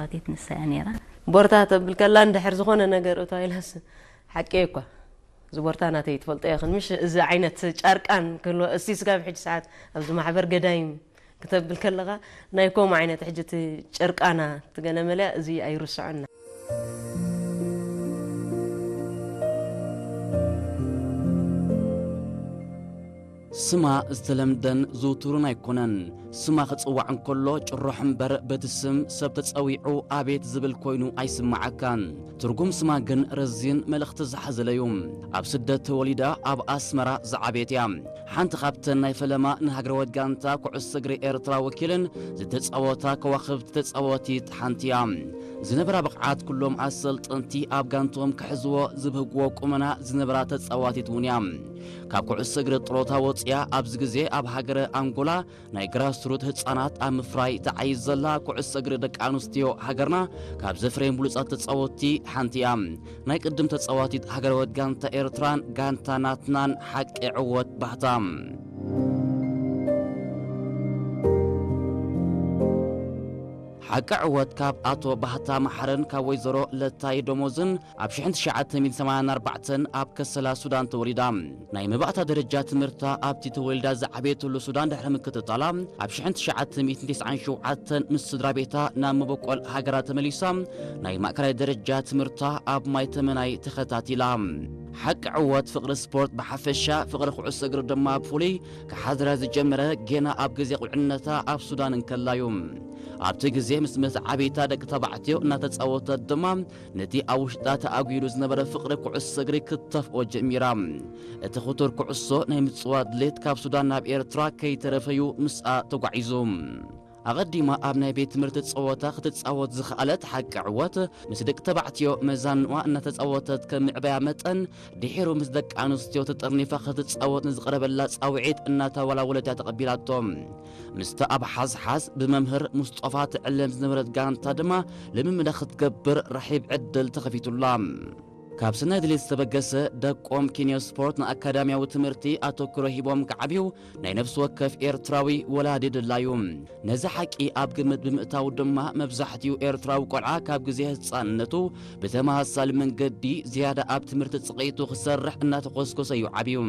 ኣትየት ንሳ እያ ነይራ። ቦርታ ተብል ከላ እንድሕር ዝኾነ ነገር እቶ ኢላስ ሓቂ እኳ እዚ ቦርታ ናተይ ትፈልጦ ኢኽን ምሽ እዚ ዓይነት ጨርቃን ክህልወ እስቲ ስጋብ ሕጂ ሰዓት ኣብዚ ማሕበር ገዳይም ክተብል ከለኻ ናይ ኮም ዓይነት ሕጂ እቲ ጨርቃና ትገለመለያ እዚ ኣይርስዖና። ስማ ዝተለምደን ዝውቱርን ኣይኮነን። ስማ ክጽዋዕ እንከሎ ጭሮሕ እምበር በቲ ስም ሰብ ተጸዊዑ ኣቤት ዝብል ኮይኑ ኣይስምዓካን። ትርጉም ስማ ግን ረዚን መልእኽቲ ዝሓዘለ እዩ። ኣብ ስደት ተወሊዳ ኣብ ኣስመራ ዝዓበየት እያ። ሓንቲ ካብተን ናይ ፈለማ ንሃገራዊት ጋንታ ኩዕሶ እግሪ ኤርትራ ወኪለን ዝተጻወታ ከዋኽብቲ ተጻወቲት ሓንቲ እያ። ዝነበራ ብቕዓት ኩሎም ኣሰልጠንቲ ኣብ ጋንትኦም ክሕዝዎ ዝብህግዎ ቁመና ዝነበራ ተጻዋቲት እውን እያ። ካብ ኩዕሶ እግሪ ጥሮታ ወጽያ ኣብዚ ግዜ ኣብ ሃገረ ኣንጎላ ናይ ግራስሩት ህጻናት ኣብ ምፍራይ ተዓይዝ ዘላ ኩዕሶ እግሪ ደቂ ኣንስትዮ ሃገርና ካብ ዘፍረየን ብሉጻት ተጻወትቲ ሓንቲ እያ። ናይ ቅድም ተጻዋቲት ሃገራዊት ጋንታ ኤርትራን ጋንታ ናትናን ሓቂ ዕወት ባህታ። ሓቂ ዕወት ካብ ኣቶ ባህታ መሓረን ካብ ወይዘሮ ለታይ ደሞዝን ኣብ ሽሕን ትሽዓተ ሚእትን ሰማንያን ኣርባዕተን ኣብ ከሰላ ሱዳን ተወሊዳ። ናይ መባእታ ደረጃ ትምህርታ ኣብቲ ተወሊዳ ዝዓበየትሉ ሱዳን ድሕሪ ምክትታላ ኣብ ሽሕን ትሽዓተ ሚእትን ተስዓን ሸውዓተን ምስ ስድራ ቤታ ናብ መበቆል ሃገራ ተመሊሳ ናይ ማእከላይ ደረጃ ትምህርታ ኣብ ማይ ተመናይ ተኸታቲላ። ሓቂ ዕወት ፍቕሪ ስፖርት ብሓፈሻ ፍቕሪ ኩዕሶ እግሪ ድማ ብፍሉይ ክሓድራ ዝጀመረ ጌና ኣብ ግዜ ቁልዕነታ ኣብ ሱዳን እንከላዩ። ኣብቲ ግዜ ምስ መተዓብይታ ደቂ ተባዕትዮ እናተጻወተት ድማ ነቲ ኣብ ውሽጣ ተኣጒዱ ዝነበረ ፍቕሪ ኩዕሶ እግሪ ክትተፍኦ ጀሚራ። እቲ ክቱር ኩዕሶ ናይ ምጽዋት ድሌት ካብ ሱዳን ናብ ኤርትራ ከይተረፈዩ ምስኣ ተጓዒዙ። ኣቐዲማ ኣብ ናይ ቤት ትምህርቲ ጸወታ ክትጻወት ዝኸኣለት ሓቂ ዕወት ምስ ደቂ ተባዕትዮ መዛንዋ እናተጻወተት ከም ምዕባያ መጠን ድሒሩ ምስ ደቂ ኣንስትዮ ተጠርኒፋ ክትጻወት ንዝቐረበላ ጻውዒት እናተወላወለት እያ ተቐቢላቶ። ምስታ ኣብ ሓዝሓዝ ብመምህር ሙስጦፋ ትዕለም ዝነበረት ጋንታ ድማ ልምምዳ ክትገብር ራሒብ ዕድል ተኸፊቱላ። ካብ ሰናይ ድሌት ዝተበገሰ ደቆም ኪንዮ ስፖርት ንኣካዳሚያዊ ትምህርቲ ኣተኩሮ ሂቦም ክዓብዩ ናይ ነፍሲ ወከፍ ኤርትራዊ ወላዲ ድላዩ። ነዚ ሓቂ ኣብ ግምት ብምእታው ድማ መብዛሕትኡ ኤርትራዊ ቆልዓ ካብ ግዜ ህጻንነቱ ብተመሳሳሊ መንገዲ ዝያዳ ኣብ ትምህርቲ ጽቒቱ ክሰርሕ እናተኾስኮሰ እዩ ዓብዩ።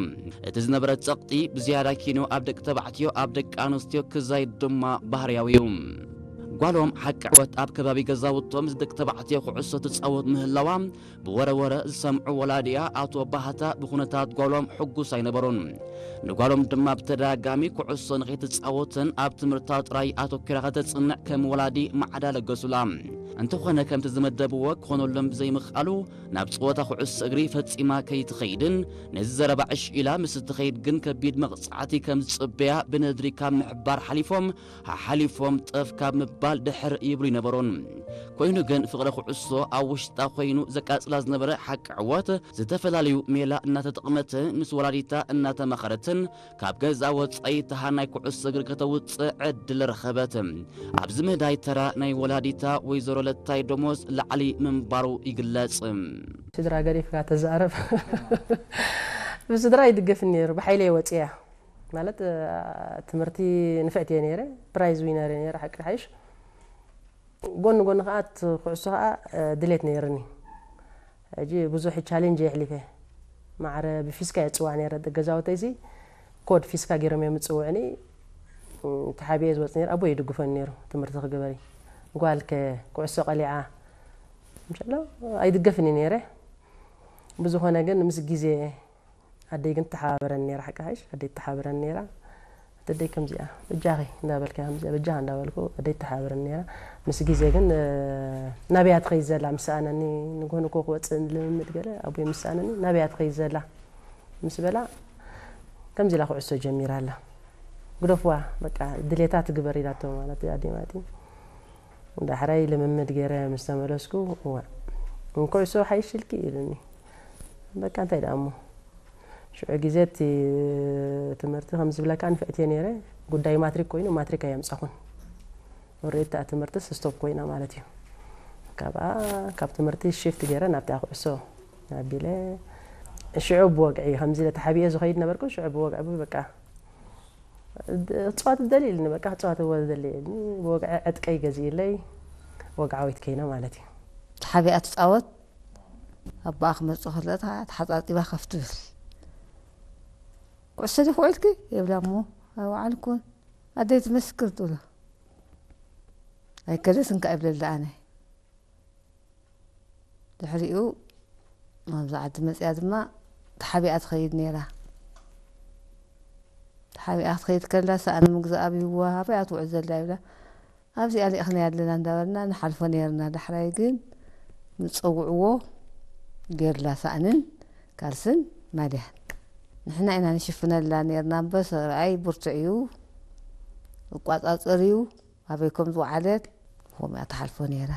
እቲ ዝነበረ ጸቕጢ ብዝያዳ ኪኖ ኣብ ደቂ ተባዕትዮ ኣብ ደቂ ኣንስትዮ ክዛይድ ድማ ባህርያዊ እዩ። ጓሎም ሓቂ ዕወት ኣብ ከባቢ ገዛውቶም ምስ ደቂ ተባዕትዮ ኩዕሶ ትጻወት ምህላዋ ብወረ ወረ ዝሰምዑ ወላዲኣ ኣቶ ባህታ ብኩነታት ጓሎም ሕጉስ ኣይነበሩን። ንጓሎም ድማ ብተደጋጋሚ ኩዕሶ ንኸይትጻወትን ኣብ ትምህርታ ጥራይ ኣተኲራ ከተጽንዕ ከም ወላዲ ማዕዳ ለገሱላ። እንተኾነ ከምቲ ዝመደብዎ ክኾነሎም ብዘይምኽኣሉ ናብ ጸወታ ኩዕሶ እግሪ ፈጺማ ከይትኸይድን ነዚ ዘረባ ዕሽ ኢላ ምስ እትኸይድ ግን ከቢድ መቕጻዕቲ ከም ዝጽበያ ብነድሪ ካብ ምሕባር ሓሊፎም ሓሓሊፎም ጠፍ ካብ ምባል ድሕር ይብሉ ይነበሩን። ኮይኑ ግን ፍቕሪ ኩዕሶ ኣብ ውሽጣ ኮይኑ ዘቃጽላ ዝነበረ ሓቂ ዕወት ዝተፈላለዩ ሜላ እናተጠቕመትን ምስ ወላዲታ እናተማኸረትን ካብ ገዛ ወጻኢ ተሃናይ ኩዕሶ እግሪ ከተውጽእ ዕድል ረኸበት። ኣብዚ ምህዳይ ተራ ናይ ወላዲታ ወይዘሮ ለታይ ደሞዝ ላዕሊ ምንባሩ ይግለጽ። ስድራ ገዲፍካ ተዛረብ። ብስድራ ይድገፍኒ ነይሩ፣ ብሓይለይ ወፅያ ማለት ትምህርቲ ንፍዕቲ እየ ነይረ፣ ፕራይዝ ዊነር እየ ነይረ ሓቂ ሓይሽ። ጎኒ ጎኒ ከዓ እቲ ኩዕሶ ከዓ ድሌት ነይርኒ። ሕጂ ብዙሕ ቻሌንጅ የሕሊፈ። ማዕረ ብፊስካ እየ ዝፅዋዕ ነይረ። ገዛውተይሲ ኮድ ፊስካ ገይሮም እዮም ዝፅውዕኒ። ተሓቢኤ ዝወፅ ነይረ። ኣቦ ይድግፈኒ ነይሩ ትምህርቲ ክግበሪ። ጓልከ ኩዕሶ ቀሊዓ ምሸሎ ኣይድገፍኒ ነይረ። ብዝኾነ ግን ምስ ግዜ ኣደይ ግን ትሓባበረኒ ነይራ፣ ሓቂ ሓይሽ ኣደይ ትሓባበረኒ ነይራ። ኣደይ ከምዚኣ በጃኺ እንዳበልካ ከምዚኣ በጃኻ እንዳበልኩ ኣደይ ትሓባበረኒ ነይራ። ምስ ግዜ ግን ናበያ ትኸይድ ዘላ ምስ ሰኣነኒ፣ ንግሆ ንግሆ ክወፅእ ልምምድ ገለ ኣቦይ ምስ ሰኣነኒ ናበያ ትኸይድ ዘላ ምስ በላ ከምዚ ኢላ ኩዕሶ ጀሚራ ኣላ። ግደፍዋ በቃ ድሌታ ትግበር ኢላቶ ማለት ኣደይ ማለት እዩ። ዳሕራይ ልምምድ ገይረ ምስ ተመለስኩ እዋ ኩዕሶ ሓይሽ ኢልኪ ኢሉኒ። በቃ እንታይ ደኣ እሞ ሽዑ ግዜ እቲ ትምህርቲ ከም ዝብለካ ንፍዕቲ እየ ነይረ። ጉዳይ ማትሪክ ኮይኑ ማትሪክ ኣየምጻኹን። ኦሬዲ እታ ትምህርትስ ስቶፕ ኮይና ማለት እዩ። ካብኣ ካብ ትምህርቲ ሽፍት ገይረ ናብታ ኩዕሶ ኣቢለ ሽዑ ብወግዒ ከምዚ ኢለ ተሓቢኤ ዝኸይድ ነበርኩ። ሽዑ ብወግዒ በቃ ክፅዋት ዝደሊ ኢልኒ በቃ ክፅዋት እወ ዝደሊ ኢልኒ። ብወግዒ ዕጥቀይ ገዚእለይ ወግዓዊት ከይና ማለት እዩ። ተሓቢኣ ትፃወት። ኣቦኣ ክመፅእ ከሎ ተሓፃፂባ ከፍ ትብል። "ኩዕሶ ዲኺ ውዒልኪ?" ይብላ እሞ፣ "ኣይወዓልኩን፣ ኣደይ ትመስክር" ትብሎ። "ኣይከደስን ከኣ" ይብለላ ኣነ። ድሕሪኡ ናብዛ ዓዲ መፅያ ድማ ተሓቢኣ ትኸይድ ነይራ። ተሓቢኣ ክትከይድ ከላ ሳእኒ ምግዛእ ኣብይዋ፣ "ኣበይ እያ ትውዕል ዘላ?" ይብላ። "ኣብዚኣ ልኢኽናያ ኣለና" እንዳበልና ንሓልፎ ነይርና። ዳሕራይ ግን ምስ ፀውዕዎ ገይርላ ሳእንን ካልስን ማልያን ንሕና ኢና ንሽፍነላ ነይርና። እምበር ሰብኣይ ብርቱዕ እዩ፣ ይቋፃፀር እዩ፣ ኣበይ ከም ዝወዓለት ከምኡ እያ ትሓልፎ ነይራ።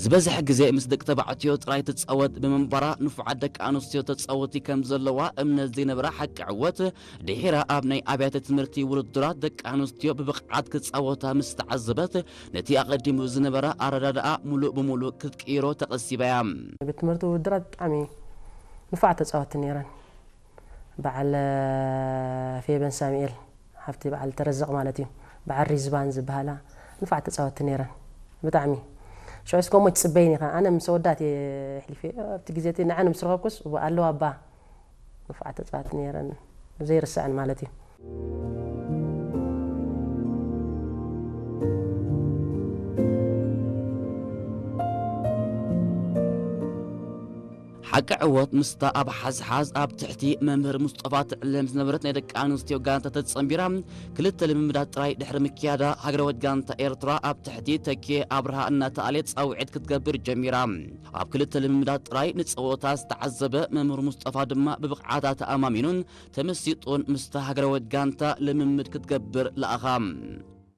ዝበዝሕ ግዜ ምስ ደቂ ተባዕትዮ ጥራይ ትጻወት ብምንባራ፣ ንፉዓት ደቂ ኣንስትዮ ተጻወቲ ከም ዘለዋ እምነት ዘይነበራ ሓቂ ዕወት፣ ድሒራ ኣብ ናይ ኣብያተ ትምህርቲ ውድድራት ደቂ ኣንስትዮ ብብቕዓት ክጻወታ ምስ ተዓዘበት፣ ነቲ ኣቐዲሙ ዝነበራ ኣረዳድኣ ምሉእ ብምሉእ ክትቅይሮ ተቐሲባ እያ። ቤት ትምህርቲ ውድድራት ብጣዕሚ ንፉዓት ተጻወቲ ነይረን። በዓል ፌበን ሳሙኤል፣ ሓፍቲ በዓል ተረዘቕ ማለት እዩ። በዓል ሪዝባን ዝበሃላ ንፉዓት ተጻወቲ ነይረን። ብጣዕሚ። ሽዑስ ከምኡ ትጽበይኒ ኢኻ። ኣነ ምስ ኣወዳት እየ ኣሕሊፈ። ኣብቲ ግዜ እቲ ንዐን ምስ ረኸብኩስ፣ እወ ኣለዋ እባ። ንፉዓት ተጻወቲ ነይረን። ዘይርስዐን ማለት እዩ። ሓቂ ዕወት ምስታ ኣብ ሓዝሓዝ ኣብ ትሕቲ መምህር ሙስጠፋ ትዕለም ዝነበረት ናይ ደቂ ኣንስትዮ ጋንታ ተጸንቢራ ክልተ ልምምዳት ጥራይ ድሕሪ ምክያዳ፣ ሃገራዊት ጋንታ ኤርትራ ኣብ ትሕቲ ተኪኤ ኣብርሃ እናተኣልየት ጻውዒት ክትገብር ጀሚራ። ኣብ ክልተ ልምምዳት ጥራይ ንጸወታ ዝተዓዘበ መምህር ሙስጠፋ ድማ ብብቕዓታ ተኣማሚኑን ተመሲጡን ምስታ ሃገራዊት ጋንታ ልምምድ ክትገብር ለኣኻ።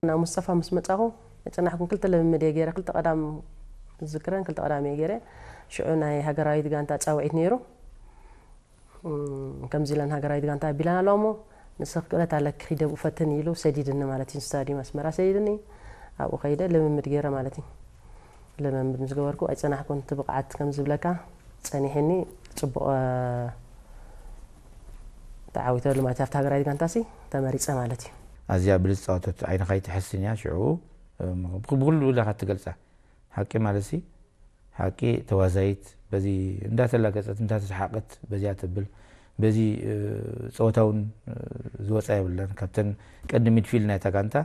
ናብ ሙስጠፋ ምስ መጻኹ፣ ኣይጸናሕኩን፣ ክልተ ልምምድ እየ ገይረ፣ ክልተ ቀዳም ዝዝክረን ክልተ ቀዳም እየ ገይረ። ሽዑ ናይ ሃገራዊት ጋንታ ጻውዒት ነይሩ። እም፣ ከምዚ ኢለን ሃገራዊት ጋንታ ኣቢለን ኣለዋ እሞ፣ "ንስኺ ክእለት ኣለኪ፣ ኺዲ ኣብኡ ፈትኒ" ኢሉ ሰዲድኒ ማለት እዩ። ስታድዩም ኣስመራ ሰዲድኒ፣ ኣብኡ ኸይደ ልምምድ ገይረ ማለት እዩ። ልምምድ ምስ ገበርኩ ኣይጸናሕኩን፣ እቲ ብቕዓት ከም ዝብለካ ጸኒሕኒ፣ ጽቡቕ፣ እ፣ ተዓዊተሉ ማለት እዩ። ኣብቲ ሃገራዊት ጋንታሲ ተመሪጸ ማለት እዩ። ኣዝያ ብልጽ ጻወተት ዓይንኻ ኣይትሕስን እያ። ሽዑ፣ እም፣ ብኹ-፣ ብኹሉ ኢኻ ትገልጻ። ሓቂ ማለትሲ፣ ሓቂ ተዋዛይት፣ በዚ እንዳተላገጸት፣ እንዳተሰሓቐት፣ በዚኣ ተብል፣ በዚ፣ እ፣ ጸወታ እውን፣ እ፣ ዝወጻ የብላን። ካብተን ቀንዲ ሚድፊልድ ናይታ ጋንታ፣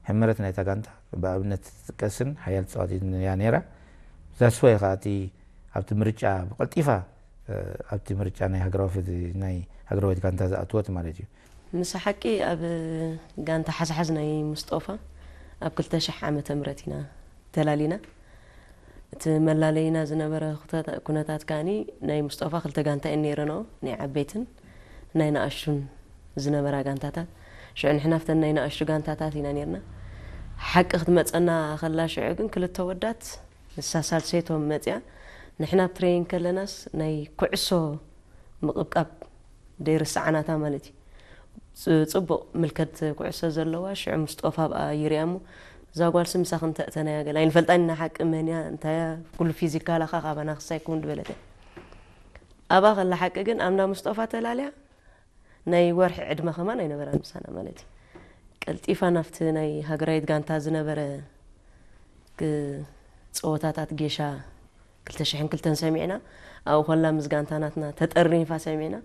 ሕመረት ናይታ ጋንታ፣ ብኣብነት ትጥቀስን ሓያል ተጻዋቲትን እያ ነይራ። ዛስዋይ ኸኣ እቲ ኣብቲ ምርጫ ብቐልጢፋ፣ እ፣ ኣብቲ ምርጫ ናይ ሃገራዊ ፌደ-፣ ናይ ሃገራዊት ጋንታ ዝኣትወት ማለት እዩ። ምስ ሓቂ ኣብ ጋንታ ሓዝሓዝ ናይ ሙስጦፋ ኣብ ክልተ ሽሕ ዓመተ ምህረት ኢና ተላሊና። እቲ መላለይና ዝነበረ ኩተታ-፣ ኩነታት ከኣኒ ናይ ሙስጦፋ ክልተ ጋንታ እየን ነይረንኦ፣ ናይ ዓበይትን ናይ ንኣሽቱን ዝነበራ ጋንታታት። ሽዑ ንሕና ኣብተን ናይ ንኣሽቱ ጋንታታት ኢና ነይርና። ሓቂ ክትመጸና ከላ ሽዑ ግን ክልተ ወዳት ንሳ ሳልሰይቶም መጽያ፣ ንሕና ኣብ ትሬኒንግ ከለናስ ናይ ኩዕሶ ምቕብቃብ ደይርስዓናታ ማለት እዩ። ጽ-፣ ጽቡቕ ምልከት ኩዕሶ ዘለዋ፣ ሽዑ ሙስጦፋ ኣብኣ ይሪኣ እሞ፣ "እዛ ጓልሲ ምሳኺ እንተእተናያ ገለ ኣይንፈልጣን ኢና ሓቂ መን እያ፣ እንታይ እያ፣ ኩሉ ፊዚካላኻ ካባና ክሳይ ክውን" ዝበለት እያ። ኣብኣ ከላ ሓቂ ግን ኣብ እንዳ ሙስጦፋ ተላልያ፣ ናይ ወርሒ ዕድመ ከማን ኣይነበራን ምሳና ማለት እዩ። ቀልጢፋ ናብቲ ናይ ሃገራዊት ጋንታ ዝነበረ ክ-፣ ጸወታታት ጌሻ ክልተ ሽሕን ክልተን ሰሚዕና፣ ኣብኡ ከላ ምስ ጋንታ ናትና ተጠርኒፋ ሰሚዕና፣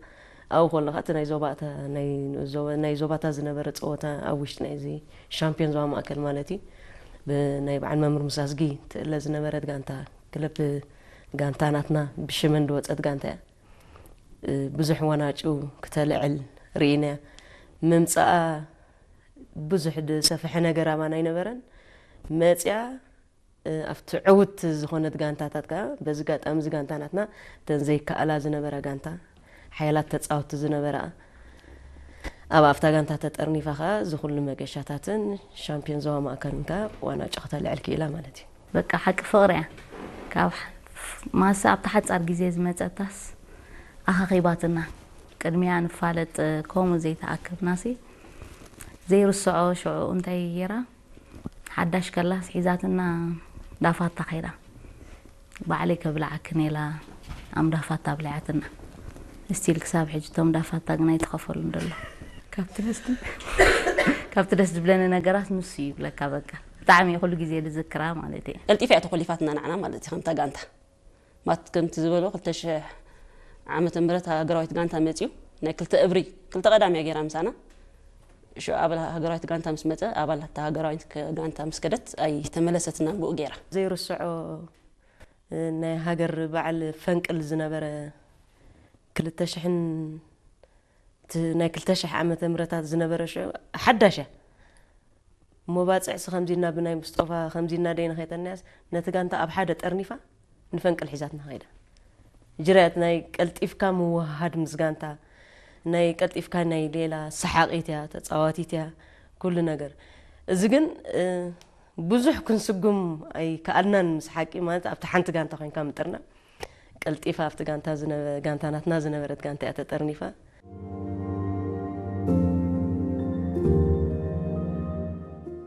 ኣብኡ ከሎ ከኣ እቲ ናይ ዞባታ-፣ ናይ ዞባ-፣ ናይ ዞባታ ዝነበረ ጸወታ ኣብ ውሽጢ ናይዚ ሻምፒዮን ዞባ ማእከል ማለት እዩ፣ ብናይ በዓል መምህር ሙሳ ኣዝጊ ትእለ ዝነበረት ጋንታ፣ ክለብ ጋንታ ናትና ብሽመን ዝወጸት ጋንታ እያ። እ፣ ብዙሕ ዋናጩ ክተልዕል ርኢናያ። ምምጻኣ ብዙሕ ዝሰፍሐ ነገር ኣባና ኣይነበረን። መጽያ፣ እ፣ ኣብቲ ዕውት ዝኾነት ጋንታታት ከኣ፣ በዚ ጋጣሚ እዚ ጋንታ ናትና እተን ዘይከኣላ ዝነበራ ጋንታ፣ ሓያላት ተጻወትቲ ዝነበራ፣ ኣብ ኣብታ ጋንታ ተጠርኒፋ ከኣ፣ እዚ ኩሉ መገሻታትን ሻምፒዮን ዞባ ማእከልን ከኣ ዋናጩ ክተልዕል ክኢላ ማለት እዩ። በቃ ሓቂ ፍቕሪ እያ። ካብ ሓ-፣ ማሳ ኣብታ ሓጻር ግዜ ዝመጸታስ ኣኻኺባትና። ቅድሚያ ንፋለጥ፣ ከምኡ ዘይተኣከብናሲ ዘይርስዖ ሽዑ እንታይ ገይራ፣ ሓዳሽ ከላስ ሒዛትና ዳፋታ ከይዳ። ባዕለይ ከብልዓክን ኢላ ኣምዳፋታ ኣብሊዓትና። ስቲል ክሳብ ሕጂ እቶም ዳፋታ ግን ኣይተኸፈሉን ደሎ። ካብ ትመስል ካብቲ ደስ ዝብለኒ ነገራት ንሱ እዩ ይብለካ። በቃ ብጣዕሚ ኩሉ ግዜ ዝዝክራ ማለት እየ። ቀልጢፋ እያ ተኾሊፋትና ንዓና ማለት እዩ። ከምታ ጋንታ ማት ከምቲ ዝበሎ ክልተ ሽሕ ዓመተ ምህረት ሃገራዊት ጋንታ መፅዩ ናይ ክልተ እብሪ ክልተ ቀዳም እያ ገይራ ምሳና። ሽዑ ኣባል ሃገራዊት ጋንታ ምስ መፀ ኣባል እታ ሃገራዊት ከ- ጋንታ ምስ ከደት ኣይተመለሰትናን ብኡ ገይራ። ዘይርስዖ ናይ ሃገር በዓል ፈንቅል ዝነበረ ክልተ ሽሕን እቲ ናይ ክልተ ሽሕ ዓመተ ምህረታት ዝነበረ ሽዑ ሓዳሽ እያ። እሞ ባፅዕሲ ከምዚና ብናይ ምስጦፋ ከምዚና ደይ ንኸይተናያስ ነቲ ጋንታ ኣብ ሓደ ጠርኒፋ ንፈንቅል ሒዛትና ኸይዳ። ጅርያት ናይ ቀልጢፍካ ምውሃድ ምስ ጋንታ ናይ ቀልጢፍካ ናይ ሌላ ሰሓቂት እያ ተፃዋቲት እያ ኩሉ ነገር። እዚ ግን እ፣ ብዙሕ ክንስጉም ኣይከኣልናን። ምስ ሓቂ ማለት ኣብቲ ሓንቲ ጋንታ ኮይንካ ምጥርና ቀልጢፋ ኣብቲ ጋንታ ዝነበ- ጋንታ ናትና ዝነበረት ጋንታ እያ ተጠርኒፋ።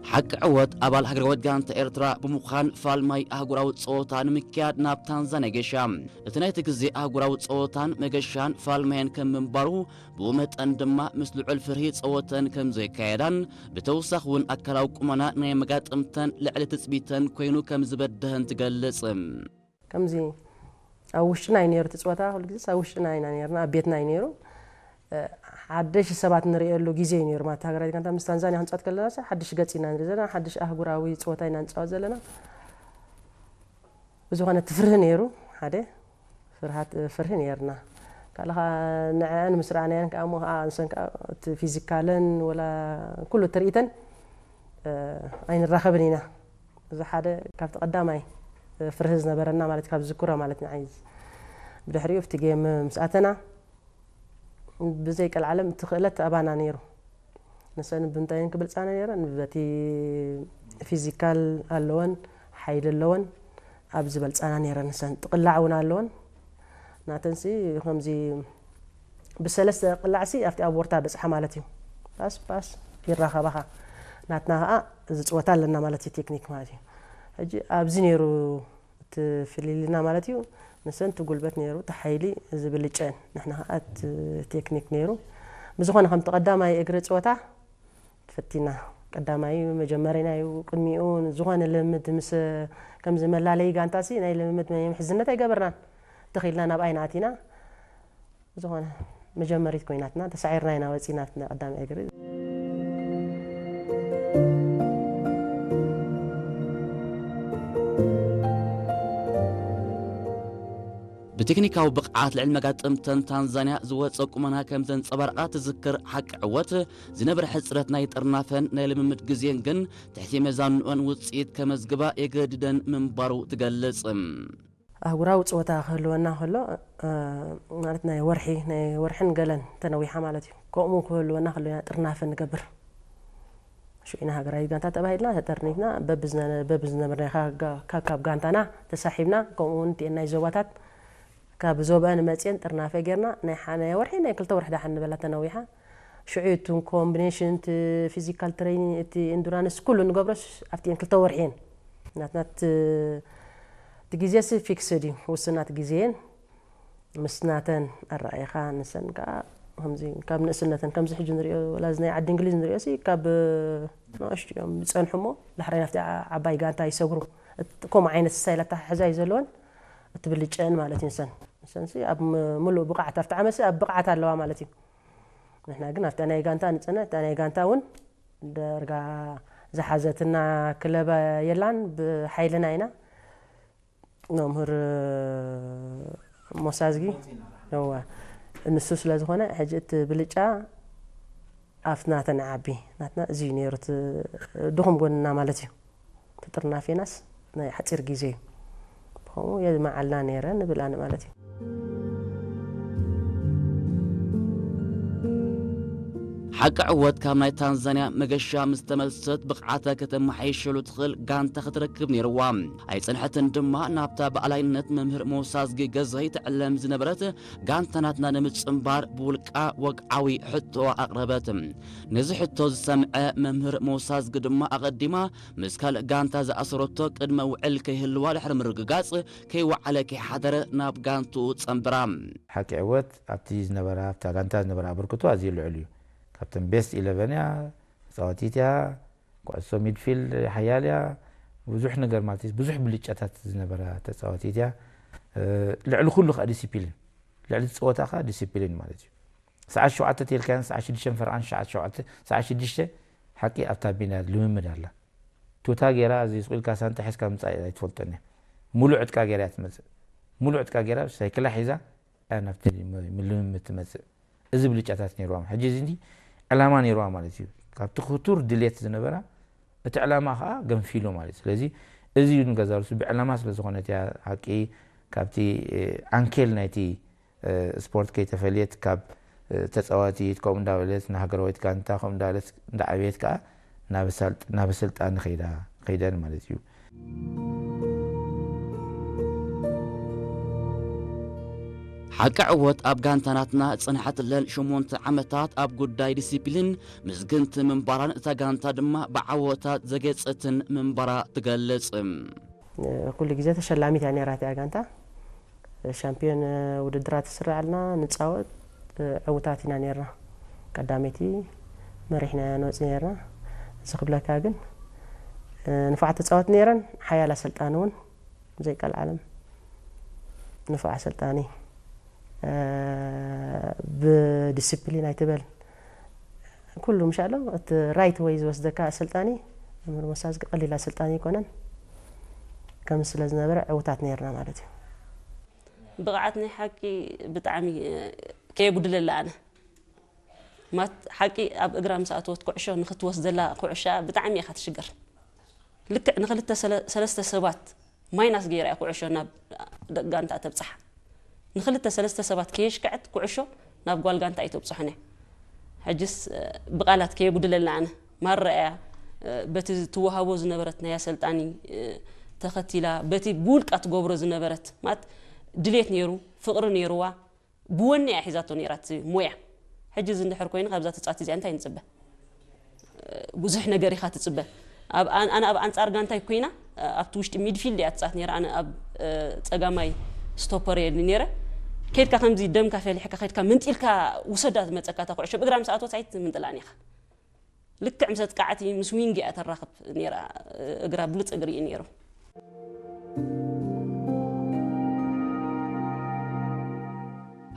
ሓቂ ዕወት ኣባል ሃገራዊት ጋንታ ኤርትራ ብምዃን ፋልማይ ኣህጉራዊ ጸወታ ንምክያድ ናብ ታንዛንያ ገሻ። እቲ ናይቲ ግዜ ኣህጉራዊ ጸወታን መገሻን ፋልማየን ከም ምንባሩ፣ ብኡ መጠን ድማ ምስ ልዑል ፍርሂ ጸወተን ከም ዘይካየዳን ብተወሳኺ እውን ኣካላዊ ቁመና ናይ መጋጥምተን ልዕሊ ትጽቢተን ኮይኑ ከም ዝበደሀን ትገልጽ። ከምዚ ኣብ ውሽጥና እዩ ነይሩ እቲ ፀወታ። ኩሉ ግዜ ኣብ ውሽጥና ኢና ነርና፣ ኣብ ቤትና እዩ ነይሩ። ሓደሽ ሰባት ንርእየሉ ግዜ እዩ ነይሩ ማለት ሃገራዊት ጋንታ ምስ ታንዛንያ ክንፃወት ከለና ሓድሽ ገፅ ኢና ንርኢ ዘለና፣ ሓድሽ ኣህጉራዊ ፀወታ ኢና ንፃወት ዘለና። ብዝኾነ እቲ ፍርሂ ነይሩ፣ ሓደ ፍርሃት ፍርሂ ነይርና። ካልእ ከዓ ንዐን ምስ ረኣናየን ከዓ እሞ ከዓ ንሰን ከዓ እቲ ፊዚካለን ወላ ኩሉ ትርኢተን ኣይንራኸብን ኢና። እዚ ሓደ ካብቲ ቀዳማይ ፍርሂ ዝነበረና ማለት ካብ ዝዝክሮ ማለት ንዓይ። ብድሕሪኡ ኣብቲ ጌም ምስ ኣተና ብዘይ ቀልዓለም እቲ ክእለት ኣባና ነይሩ። ንሰን ብምንታይን ክብልፃና ነይረን በቲ ፊዚካል ኣለወን ሓይሊ ኣለወን ኣብ ዝበልፃና ነይረን ንሰን ጥቕላዕ እውን ኣለወን ናተንሲ ከምዚ ብሰለስተ ቅላዕሲ ኣብቲ ኣብ ወርታ በፅሓ ማለት እዩ። ፓስ ፓስ ይራኸባኻ ናትና ከዓ ዝፅወታ ኣለና ማለት እዩ ቴክኒክ ማለት እዩ። ሕጂ ኣብዚ ነይሩ እቲ ፍልልይና ማለት እዩ። ንሰን እቲ ጉልበት ነይሩ እቲ ሓይሊ ዝብልጨን ንሕና ከዓ እቲ ቴክኒክ ነይሩ። ብዝኾነ ከምቲ ቀዳማይ እግሪ ፀወታ ፈቲና ቀዳማይ መጀመሪና እዩ። ቅድሚኡ ዝኾነ ልምምድ ምስ ከምዚ መላለይ ጋንታሲ ናይ ልምምድ ናይ ምሕዝነት ኣይገበርናን። ተኺልና ናብ ኣይና ኣቲና ዝኾነ መጀመሪት ኮይናትና ተሳዒርና ኢና ወፂናትና ቀዳማይ እግሪ። ብቴክኒካዊ ብቕዓት ልዕሊ መጋጥምተን ታንዛንያ ዝወፀ ቁመና ከም ዘንፀባርቓ ትዝክር ሓቂ ዕወት፣ ዝነበረ ሕፅረት ናይ ጥርናፈን ናይ ልምምድ ግዜን ግን ትሕቲ መዛንኦን ውፅኢት ከመዝግባ የገድደን ምንባሩ ትገልፅ። ኣህጉራዊ ፀወታ ክህልወና ከሎ ማለት ናይ ወርሒ ናይ ወርሕን ገለን ተነዊሓ ማለት እዩ። ከምኡ ክህልወና ከሎ ኢና ጥርናፈ ንገብር። ሽዑ ኢና ሃገራዊት ጋንታ ተባሂልና ተጠርኒፍና በብዝነበርና ካብ ካብ ጋንታና ተሳሒብና ከምኡ እውን እቲኤን ናይ ዞባታት ካብ ዞባአን መፅየን ጥርናፈ ጌርና ናይ ሓደ ወርሒ ናይ ክልተ ወርሒ ዳሓን ንበላ ተነዊሓ። ሽዑ እዩ እቲ ኮምቢኔሽን እቲ ፊዚካል ትሬኒንግ እቲ ኢንዱራንስ ኩሉ ንገብሮስ ኣብቲኤን ክልተ ወርሒ እየን ናትና እቲ ግዜሲ ፊክስድ እዩ ውስናት ግዜ እየን። ምስ ናተን ኣረኣኢኻ ንሰን ከዓ ከምዚ ካብ ንእስነተን ከምዚ ሕጂ ንሪኦ ወላ እዚ ናይ ዓዲ እንግሊዝ ንሪኦ ሲ ካብ ንእሽቱ እዮም ዝፀንሑ እሞ ዳሕራይ ናብቲ ዓባይ ጋንታ ይሰግሩ። ከምኡ ዓይነት ስታይል ኣተሓሕዛ እዩ ዘለወን። እቲ ብልጨን ማለት እዩ ንሰን ንሰንሲ ኣብ ምሉእ ብቕዓት ኣብቲ ዓመትሲ ኣብ ብቕዓት ኣለዋ ማለት እዩ። ንሕና ግን ኣብታ ናይ ጋንታ ንፀንሕ እታ ናይ ጋንታ እውን ደርጋ ዝሓዘትና ክለብ የላን ብሓይልና ኢና መምህር ሞሳዝጊ እወ ንሱ ስለ ዝኾነ ሕጂ እቲ ብልጫ ኣብቲ ናተን ዓቢ ናትና እዚ እዩ ነይሩ እቲ ድኹም ጎንና ማለት እዩ። እቲ ጥርናፌናስ ናይ ሓፂር ግዜ እዩ። ብኸምኡ የዝመዓልና ነይረ ንብል ኣነ ማለት እዩ። ሓቂ ዕወት ካብ ናይ ታንዛንያ መገሻ ምስ ተመልሰት ብቕዓታ ከተመሓይሸሉ ትኽእል ጋንታ ክትረክብ ነይርዋ። ኣይጸንሐትን ድማ ናብታ ብኣላይነት መምህር ሞሳዝጊ ገዛይ ትዕለም ዝነበረት ጋንታ ናትና ንምጽንባር ብውልቃ ወግዓዊ ሕቶኣ ኣቕረበት። ነዚ ሕቶ ዝሰምዐ መምህር ሞሳዝጊ ድማ ኣቐዲማ ምስ ካልእ ጋንታ ዝኣሰረቶ ቅድመ ውዕል ከይህልዋ ድሕሪ ምርግጋጽ ከይወዓለ ከይሓደረ ናብ ጋንትኡ ጸንብራ። ሓቂ ዕወት ኣብቲ ዝነበራ ኣብታ ጋንታ ዝነበራ ኣበርክቶ ኣዝዩ ልዑል እዩ። ካብተን ቤስት ኢለቨን እያ። ተጻዋቲት እያ። ኩዕሶ ሚድፊልድ ሓያል እያ። ብዙሕ ነገር ማለት እዩ፣ ብዙሕ ብልጫታት ዝነበራ ተጻዋቲት እያ። እ፣ ልዕሊ ኩሉ ከዓ ዲሲፕሊን፣ ልዕሊ እቲ ጸወታ ከዓ ዲሲፕሊን ማለት እዩ። ሰዓት ሸውዓተ ተልካን ሰዓት ሽዱሽተ ፈርቓን፣ ሰዓት ሸውዓተ፣ ሰዓት ሽዱሽተ ሓቂ ኣብታ ሜዳ ልምምድ ኣላ። ቱታ ገይራ እዚ ስቕ ኢልካ ሳንጣ ሒዝካ ምጻእ ኣይትፈልጦን እያ። ሙሉእ ዕጥቃ ገይራ እያ ትመጽእ። ሙሉእ ዕጥቃ ገይራ ሳይክላ ሒዛ እያ ናብቲ ልምምድ ትመጽእ። እዚ ብልጫታት ነይርዋ። ሕጂ እዚ እንዲ ዕላማ ነይርዋ ማለት እዩ። ካብቲ ክቱር ድሌት ዝነበራ እቲ ዕላማ ከዓ ገንፊሉ ማለት እዩ። ስለዚ እዚ እዩ ንገዛ ርእሱ ብዕላማ ስለ ዝኾነት እያ ሓቂ ካብቲ፣ እ፣ ዓንኬል ናይቲ፣ እ፣ ስፖርት ከይተፈልየት ካብ፣ እ፣ ተጻዋቲት ከምኡ እንዳበለት ንሃገራዊት ጋንታ ከምኡ እንዳበለት እንዳዓበየት ከዓ ናብ ሰልጥ-፣ ናብ ስልጣን ከይዳ፣ ከይደን ማለት እዩ። ሓቂ ዕወት ኣብ ጋንታ ናትና ዝጸንሐትለን ሸሞንተ ዓመታት ኣብ ጉዳይ ዲሲፕሊን ምስግንቲ ምንባራን እታ ጋንታ ድማ ብዓወታት ዘጌጸትን ምንባራ ትገልጽ። ኩሉ ግዜ ተሸላሚት እያ ነይራ እቲኣ ጋንታ። ሻምፒዮን ውድድራት ትስረዓልና፣ ንጻወት፣ ዕውታት ኢና ነይርና። ቀዳመይቲ መሪሕና ንወጽእ ነይርና። እዚ ክብለካ ግን ንፉዓት ተጻወት ነይረን፣ ሓያል ኣሰልጣኒ እውን ዘይቀልዓለም ንፉዕ ኣሰልጣኒ፣ እ፣ ብዲስፕሊን ኣይትበል። ኩሉ ምሻሎ እቲ ራይት ወይ ዝወስደካ ኣሰልጣኒ፣ መምህር ሞሳ ዝግ ቀሊል ኣሰልጣኒ ኣይኮነን። ከም ስለ ዝነበረ ዕውታት ነይርና ማለት እዩ። ብቕዓት ናይ ሓቂ ብጣዕሚ፣ እ፣ ከየጉድለላ ኣነ። ማት ሓቂ ኣብ እግራ ምስ ኣተወት ኩዕሾ ንኽትወስደላ ኩዕሻ ብጣዕሚ ኢኻ ትሽገር። ልክዕ ንኽልተ ሰለ-፣ ሰለስተ ሰባት ማይናስ ገይራ እያ ኩዕሾ ናብ ደቂ ጋንታ ተብጽሓ። ንኽልተ ሰለስተ ሰባት ከየሽክዐት ኩዕሾ ናብ ጓል ጋንታ ኣይተብጽሖን እያ። ሕጅስ፣ እ፣ ብቓላት ከየጉድለልና ኣነ ማራ እያ፣ እ፣ በቲ ትወሃቦ ዝነበረት ናይ ኣሰልጣኒ፣ እ፣ ተኸቲላ፣ በቲ ብውልቃ ትገብሮ ዝነበረት፣ ማለት ድሌት ነይሩ፣ ፍቕሪ ነይርዋ፣ ብወኒ እያ ሒዛቶ ነይራ እቲ ሞያ። ሕጂ እዚ እንድሕር ኮይኑ ካብዛ ተጻዋቲ እዚኣ እንታይ ንጽበ? ብዙሕ ነገር ኢኻ ትጽበ። ኣብ ኣን-፣ ኣነ ኣብ ኣንጻር ጋንታይ ኮይና፣ ኣብቲ ውሽጢ ሚድፊልድ እያ ትጻወት ነይራ። ኣነ ኣብ፣ እ፣ ጸጋማይ ስቶፐር እየ ነይረ። ከይድካ ከምዚ ደምካ ፈሊሕካ ከይድካ መንጢልካ ውሰዳ ዝመጸካ እታ ኩዕሾ ብእግራ ምስ ኣተወት ኣይትምንጥላን ኢኻ። ልክዕ ምስ ኣጥቃዕቲ ምስ ዊንግ እያ ተራኽብ ነይራ። እግራ ብሉጽ እግሪ እዩ ነይሩ።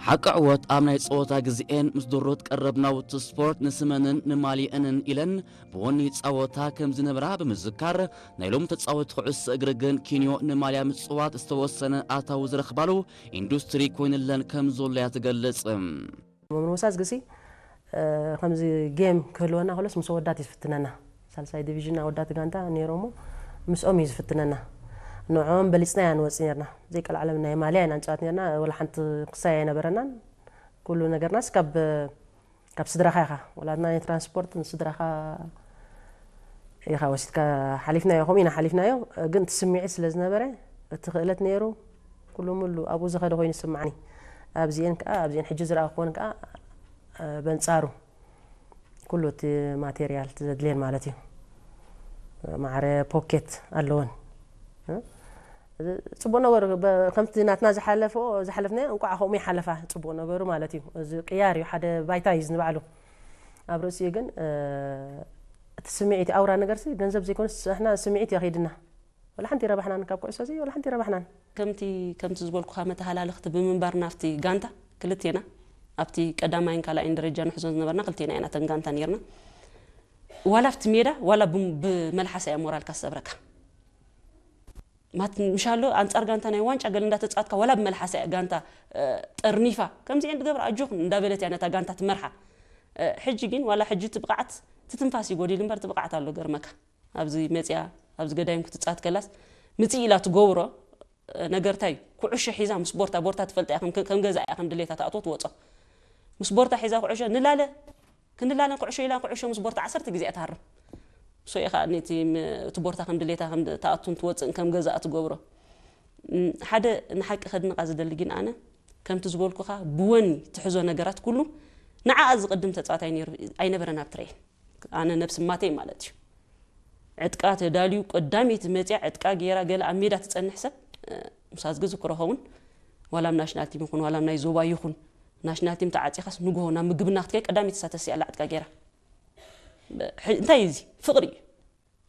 ሓቂ ዕወት ኣብ ናይ ጸወታ ግዜኤን ምስ ድሩት ቀረብ ናውቲ ስፖርት ንስመንን ንማልየእንን ኢለን ብወኒ ይጻወታ ከም ዝነበራ ብምዝካር፣ ናይ ሎሚ ተጻወቲ ኩዕሶ እግሪ ግን ኪንዮ ንማልያ ምጽዋት ዝተወሰነ ኣታዊ ዝረኽባሉ ኢንዱስትሪ ኮይንለን ከም ዘሎ እያ ትገልጽ። መምህር ሞሳ ዝግሲ፣ እ፣ ከምዚ ጌም ክህልወና ከሎስ ምስ ኣወዳት እዩ ዝፍትነና። ሳልሳይ ዲቪዥን ኣወዳት ጋንታ ነይሮሞ፣ ምስኦም እዩ ዝፍትነና። ንዕኦም በሊጽና ኢና ንወጽእ ነርና። ዘይቀልዓለም ናይ ማልያ ኢና ንጻወት ነርና። ወላ ሓንቲ ክሳይ ኣይነበረናን። ኩሉ ነገርናስ ካብ፣ ካብ ስድራኻ ኢኻ። ወላ ናይ ትራንስፖርት ንስድራኻ ኢኻ ወሲድካ ሓሊፍናዮ፣ ከምኡ ኢና ሓሊፍናዮ። ግን እቲ ስምዒት ስለ ዝነበረ፣ እቲ ክእለት ነይሩ፣ ኩሉ ሙሉ ኣብኡ ዝኸደ ኮይኑ ይስምዓኒ። ኣብዚኤን ከኣ፣ ኣብዚኤን ሕጂ ዝረኣኹወን ከኣ፣ እ፣ በንጻሩ ኩሉ እቲ ማቴርያል እቲ ዘድልየን ማለት እዩ። ማዕረ ፖኬት ኣለወን። እ፣ ጽቡቕ ነገሩ፣ በ-፣ ከምቲ ናትና ዝሓለፈኦ፣ ዝሓለፍናዮ እንቋዕ ከምኡ ይሓለፋ፣ ጽቡቕ ነገሩ ማለት እዩ። እዚ ቅያር እዩ፣ ሓደ ባይታ እዩ ንባዕሉ። ኣብ ርእሲኡ ግን፣ እ፣ እቲ ስምዒት፣ ኣውራ ነገርሲ ገንዘብ ዘይኮነስ፣ ንሕና ስምዒት እዩ ከይድና። ወላ ሓንቲ ይረባሕናን ካብ ኩዕሶ እዚ፣ ወላ ሓንቲ ይረባሕናን። ከምቲ፣ ከምቲ ዝበልኩኻ መተሃላለኽቲ ብምንባር ናብቲ ጋንታ ክልቴና፣ ኣብቲ ቀዳማይን ካልኣይን ደረጃ ንሕዞን ዝነበርና ክልቴና ኢና እተን ጋንታ ነይርና። ዋላ ኣብቲ ሜዳ፣ ዋላ ብም-፣ ብመልሓሳ እያ ሞራልካ ዝሰብረካ። ማት-፣ ምሻሎ ኣንጻር ጋንታ ናይ ዋንጫ ገለ እንዳተጻወትካ፣ ዋላ ብመልሓሳ እያ ጋንታ፣ እ፣ ጠርኒፋ። ከምዚኤን ትገብራ ኣጆኹን እንዳበለት እያ ነታ ጋንታ ትመርሓ። እ፣ ሕጂ ግን ዋላ ሕጂ እቲ ብቕዓት፣ እቲ ትንፋስ እዩ ጎዲሉ እምበር እቲ ብቕዓት ኣሎ ገርመካ። ኣብዚ መጽያ፣ ኣብዚ ገዳይም ክትጻወት ከላስ ምጽእ ኢላ ትገብሮ ነገር እንታይ እዩ? ኩዕሾ ሒዛ ምስ ቦርታ፣ ቦርታ ትፈልጣ እያ፣ ከም፣ ከም ገዛ እያ፣ ከም ድሌታ ትኣትዎ ትወጾ። ምስ ቦርታ ሒዛ ኩዕሾ ንላለ፣ ክንላለን ኩዕሾ ኢላ ኩዕሾ ምስ ቦርታ ዓሰርተ ግዜ እያ ትሃርም። ንሶ እዩ ከኣ ነቲ ም-፣ እቲ ቦርታ ከም ድሌታ ከም ትኣቱን ትወጽእን ከም ገዛ ትገብሮ። እም፣ ሓደ ንሓቂ ከድንቓ ዝደሊ ግን ኣነ፣ ከምቲ ዝበልኩኻ ብወኒ ትሕዞ ነገራት ኩሉ ንዓኣ ዝቕድም ተጻዋታይ ነይሩ ኣይነበረን ኣብ ትሬን። ኣነ ነብሲ ማተይ ማለት እዩ። ዕጥቃ ተዳልዩ ቀዳመይቲ መጽያ ዕጥቃ ገይራ ገለ ኣብ ሜዳ ትጸንሕ ሰብ፣ እ፣ ምሳዝጊ ዝክሮ ኸውን ዋላ ኣብ ናሽናል ቲም ይኹን ዋላ ኣብ ናይ ዞባ ይኹን ናሽናል ቲም ተዓጺኻስ ንግሆ ናብ ምግብና ክትከይ ቀዳመይቲ እሳ ተሲኣ ኣላ ዕጥቃ ገይራ። እንታይ እዩ እዚ? ፍቕሪ እዩ።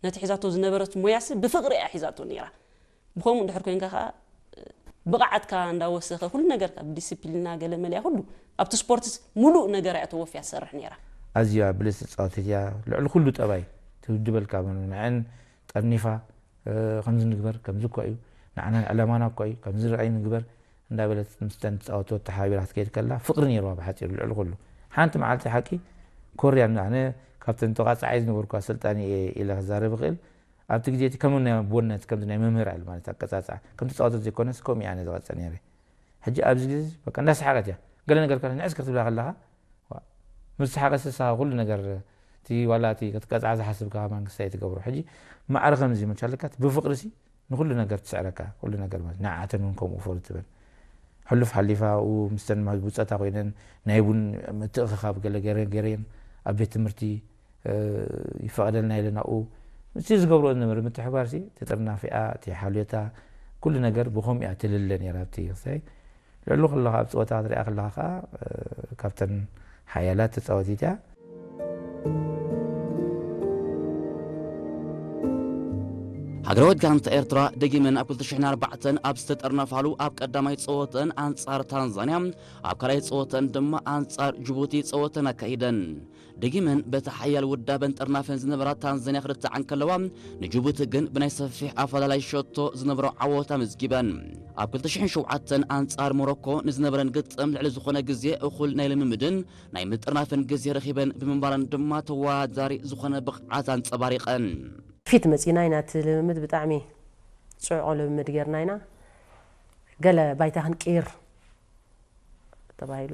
ነቲ ሒዛቶ ዝነበረት ሞያሲ ብፍቕሪ እያ ሒዛቶ ነይራ። ብኸምኡ እንድሕር ኮይንካ ከዓ ብቕዓትካ እንዳወሰኸ፣ ኩሉ ነገርካ ብዲስፕሊና ገለ መለያ ኩሉ ኣብቲ ስፖርትስ ሙሉእ ነገር እያ ተወፍያ ትሰርሕ ነይራ። ኣዝያ ብልጽቲ ተጻወቲት እያ። ልዕሊ ኩሉ ጠባይ ትውድበልካ፣ ንዐን ጠርኒፋ፣ ከምዚ ንግበር፣ ከምዚ እኮ እዩ፣ ንዓና ዕላማና እኮ እዩ፣ ከምዚ ርኣይ ንግበር እንዳበለት ምስተን ተጻወትቶ ተሓቢራ ክትከይድ ከላ ፍቕሪ ነይርዋ። ብሓጺሩ ልዕሊ ኩሉ ሓንቲ መዓልቲ ሓቂ ኮርያ፣ ኣነ ካብተን ተቋጻዓይ ዝነበርኩ ኣሰልጣኒ እየ ኢለ ክዛረብ እኽእል። ኣብቲ ግዜ እቲ ከም ናይ ኣቦነት፣ ከምዚ ናይ መምህር ኣለ ማለት ኣቀጻጽዓ፣ ከም ተጻወተት ዘይኮነስ ከምኡ እየ ኣነ ዝቐጽዕ ነይረ። ሕጂ ኣብዚ ግዜ በቃ እንዳሰሓቀት እያ፣ ገለ ነገር ከላ ንዕስ ክትብላ ከለኻ፣ ዋ፣ ምስ ሰሓቀት ንስኻ ኩሉ ነገር፣ እቲ ዋላ እቲ ክትቀጽዓ ዝሓስብካ ከማን ክሳይ ትገብሮ። ሕጂ ማዕረ ከምዚ መቻልካት ብፍቅሪ ሲ ንኩሉ ነገር ትስዕረካ፣ ኩሉ ነገር ማለት ንዓተን እውን ከምኡ ፈሩ ትበል። ሕሉፍ ሓሊፋ ኡ ምስተን ብጸታ ኮይነን ናይ ቡን ምትእኽኻብ ገለ ገረ-፣ ገረየን ኣብ ቤት ትምህርቲ፣ እ፣ ይፈቐደልና ኢለን ኣብኡ ምስቲ ዝገብርኦ ዝነበረ ምትሕብባር ሲ፣ እቲ ጥርናፊኣ፣ እቲ ሓልዮታ፣ ኩሉ ነገር ብኸምኡ እያ ትልለ ነይራ። ኣብቲ ክሳይ ልዕሊ ከለኻ ኣብ ጸወታ ክትሪኣ ከለኻ ከኣ፣ እ፣ ካብተን ሓያላት ተጻወቲት እያ። ሃገራዊት ጋንታ ኤርትራ ደጊመን ኣብ ክልተ ሽሕን ኣርባዕተን ኣብ ዝተጠርነፋሉ ኣብ ቀዳማይ ጸወተን ኣንጻር ታንዛንያ፣ ኣብ ካልኣይ ጸወተን ድማ ኣንጻር ጅቡቲ ጸወተን ኣካይደን። ደጊመን በቲ ሓያል ውዳበን ጥርናፈን ዝነበራ ታንዛንያ ክርትዓ እንከለዋ፣ ንጅቡቲ ግን ብናይ ሰፊሕ ኣፈላላይ ሸቶ ዝነበሮ ዓወት ኣመዝጊበን። ኣብ ክልተ ሽሕን ሸውዓተን ኣንጻር ሞሮኮ ንዝነበረን ግጥም ልዕሊ ዝኾነ ግዜ እኹል ናይ ልምምድን ናይ ምጥርናፍን ግዜ ረኺበን ብምንባረን ድማ ተወዳዳሪ ዝኾነ ብቕዓት ኣንጸባሪቐን። ፊት መጺና ኢና፣ እቲ ልምምድ ብጣዕሚ ጽዑቕ ልምምድ ጌርና ኢና። ገለ ባይታ ክንቅይር ተባሂሉ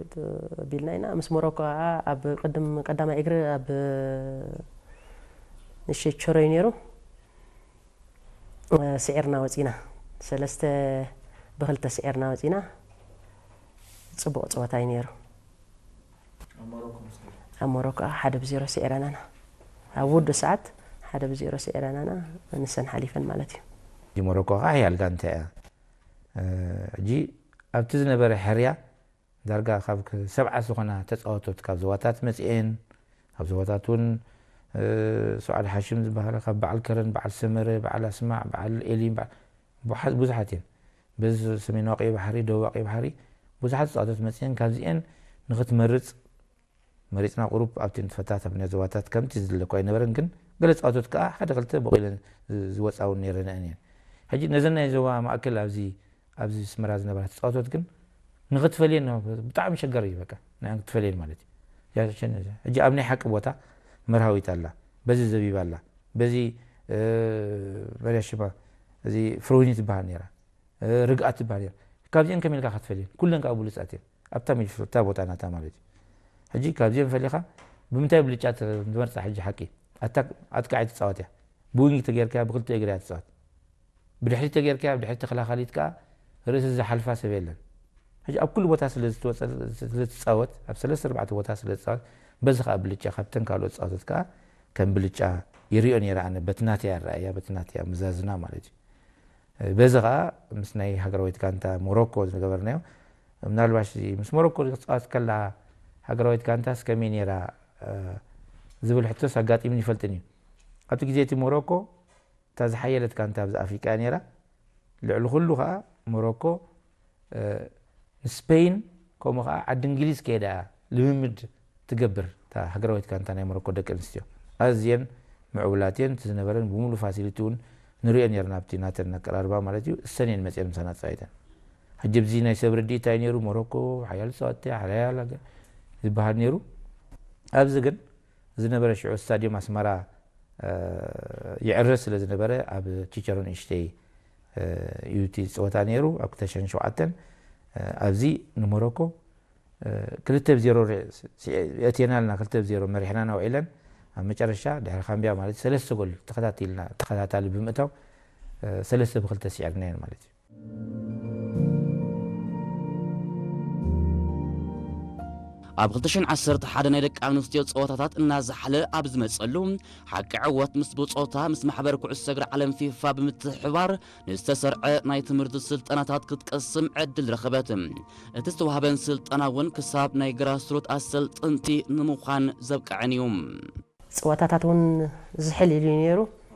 ቢልና ኢና። ምስ ሞሮኮ ከዓ ኣብ ቅድም ቀዳማይ እግሪ ኣብ ንእሽተይ ቸሮይ ነይሩ። ስዒርና ወፂና። ሰለስተ ብክልተ ስዒርና ወፂና። ፅቡቕ ፀወታ እዩ ነይሩ። ኣብ ሞሮኮ ከዓ ሓደ ብዜሮ ስዒረናና። ኣብ ውዱእ ሰዓት ሓደ ብዜሮ ስዒረናና፣ ንሰን ሓሊፈን ማለት እዩ። እዚ ሞሮኮ ከዓ ሓያል ጋንታ እያ። ሕጂ ኣብቲ ዝነበረ ሕርያ ዳርጋ ካብ ሰብዓ ዝኾና ተፃወቶት ካብ ዞባታት መፂኤን፣ ካብ ዞባታት እውን ሱዓድ ሓሽም ዝበሃላ፣ ካብ በዓል ከረን፣ በዓል ሰመረ፣ በዓል ኣስማዕ፣ በዓል ኤሊም፣ ብዙሓት እየን። በዚ ሰሜናዊ ቀይ ባሕሪ፣ ደቡባዊ ቀይ ባሕሪ ብዙሓት ተፃወቶት መፂኤን፣ ካብዚኤን ንክትመርፅ መሪፅና ቁሩብ ኣብቲ ንትፈታተፍ ናይ ዞባታት ከምቲ ዝድለ እኳ ኣይነበረን፣ ግን ገለ ተፃወቶት ከዓ ሓደ ክልተ ቦቂለን ዝወፃ እውን ነይረን እየን። ሕጂ ነዘን ናይ ዞባ ማእከል ኣብዚ ኣብዚ ስመራ ዝነበራ ተፃወቶት ግን ንክትፈልየን ብጣዕሚ ሸገር እዩ። በቃ ንኣን ክትፈልየን ማለት እዩ። ሕጂ ኣብ ናይ ሓቂ ቦታ መርሃዊት ኣላ፣ በዚ ዘቢባ ኣላ፣ በዚ መርያ ሽማ እዚ ፍሮይኒ ትበሃል ነይራ፣ ርግኣት ትበሃል ነይራ። ካብዚአን ከመይ ኢልካ ክትፈልየን? ኩለን ከዓ ብሉፃት እየን። ኣብታ ሚድፊልድ እታ ቦታ ናታ ማለት እዩ። ሕጂ ካብዚአን ፈሊኻ ብምንታይ ብልጫ ትመርፃ? ሕጂ ሓቂ ኣታ ኣጥቃዒ ትፃወት እያ። ብዊንግ ተገይርካ ብክልተ እግሪ እያ ትፃወት። ብድሕሪት ተገይርካ ኣብ ድሕሪት ተኸላኻሊት ከዓ ርእሲ ዝሓልፋ ሰብ የለን። ሕጂ ኣብ ኩሉ ቦታ ስለ ዝትወፀ-፣ ስለ ትፃወት፣ ኣብ ሰለስተ ኣርባዕተ ቦታ ስለ ትፃወት፣ በዚ ከዓ ብልጫ ካብተን ካልኦት ተፃወቶት ከዓ ከም ብልጫ ይሪኦ ነይረ ኣነ። በቲ ናተይ ኣረኣእያ፣ በቲ ናተይ ኣመዛዝና ማለት እዩ። በዚ ከዓ ምስ ናይ ሃገራዊት ጋንታ ሞሮኮ ዝገበርናዮ፣ ምናልባሽ እዚ ምስ ሞሮኮ ክትፃወት ከላ ሃገራዊት ጋንታስ ከመይ ነይራ ዝብል ሕቶስ ኣጋጢሙን ይፈልጥን እዩ። ኣብቲ ግዜ እቲ ሞሮኮ እታ ዝሓየለት ጋንታ ኣብዚ ኣፍሪቃ እያ ነይራ። ልዕሊ ኩሉ ከዓ ሞሮኮ፣ እ፣ ንስፔይን ከምኡ ከዓ ዓዲ እንግሊዝ ከይዳ እያ ልምምድ ትገብር እታ ሃገራዊት ጋንታ ናይ ሞሮኮ ደቂ ኣንስትዮ። ኣዝየን ምዕቡላት እየን። እቲ ዝነበረን ብምሉእ ፋሲሊቲ እውን ንሪኦ ነይርና ኣብቲ ናተን ኣቀራርባ ማለት እዩ። እሰን እየን መፅየን ምሳና ተፃዊተን። ሕጂ ኣብዚ ናይ ሰብ ርድኢት እንታይ ነይሩ? ሞሮኮ ሓያል ተፃወትቲ እያ፣ ሓያል ሃገር ዝበሃል ነይሩ። ኣብዚ ግን ዝነበረ ሽዑ ስታድዮም ኣስመራ ይዕረስ ስለ ዝነበረ ኣብ ቺቸሮ ንእሽተይ እዩ እቲ ፀወታ ነይሩ ኣብ ክልተ ሽሕን ሸውዓተን። ኣብዚ ንሞሮኮ ክልተ ብ ዜሮ የእትየናልና፣ ክልተ ብ ዜሮ መሪሕናና ውዒለን ኣብ መጨረሻ ድሕሪ ካምቢያ ማለት ሰለስተ ጎል ተኸታቲልና ተኸታታሊ ብምእታው ሰለስተ ብክልተ ስዒርናየን ማለት እዩ። ኣብ ክልተ ሽሕን ዓሰርተ ሓደ ናይ ደቂ ኣንስትዮ ጸወታታት እናዛሓለ ኣብ ዝመጸሉ፣ ሓቂ ዕወት ምስ ብጾታ ምስ ማሕበር ኩዕሶ እግሪ ዓለም ፊፋ ብምትሕብባር ንዝተሰርዐ ናይ ትምህርቲ ስልጠናታት ክትቀስም ዕድል ረኸበት። እቲ ዝተዋህበን ስልጠና እውን ክሳብ ናይ ግራስሩት ኣሰልጥንቲ ንምዃን ዘብቅዐን እዩ። ፀወታታት እውን ዝሕል ኢሉ እዩ ነይሩ።